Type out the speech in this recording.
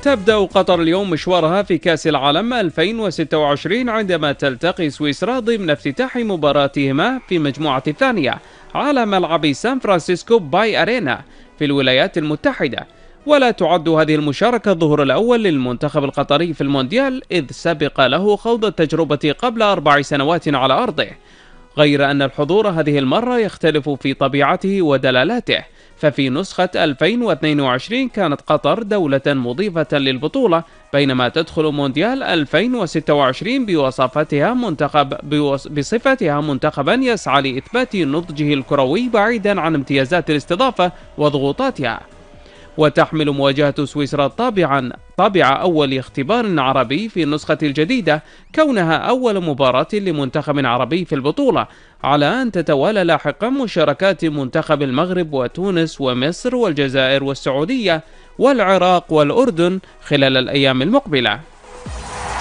تبدأ قطر اليوم مشوارها في كأس العالم 2026 عندما تلتقي سويسرا ضمن افتتاح مباراتهما في المجموعة الثانية على ملعب سان فرانسيسكو باي أرينا في الولايات المتحدة. ولا تعد هذه المشاركة الظهور الأول للمنتخب القطري في المونديال، إذ سبق له خوض التجربة قبل 4 سنوات على أرضه، غير أن الحضور هذه المرة يختلف في طبيعته ودلالاته. ففي نسخة 2022 كانت قطر دولة مضيفة للبطولة، بينما تدخل مونديال 2026 بصفتها منتخبا يسعى لإثبات نضجه الكروي بعيدا عن امتيازات الاستضافة وضغوطاتها. وتحمل مواجهة سويسرا طابع أول اختبار عربي في النسخة الجديدة، كونها أول مباراة لمنتخب عربي في البطولة، على أن تتوالى لاحقا مشاركات منتخب المغرب وتونس ومصر والجزائر والسعودية والعراق والأردن خلال الأيام المقبلة.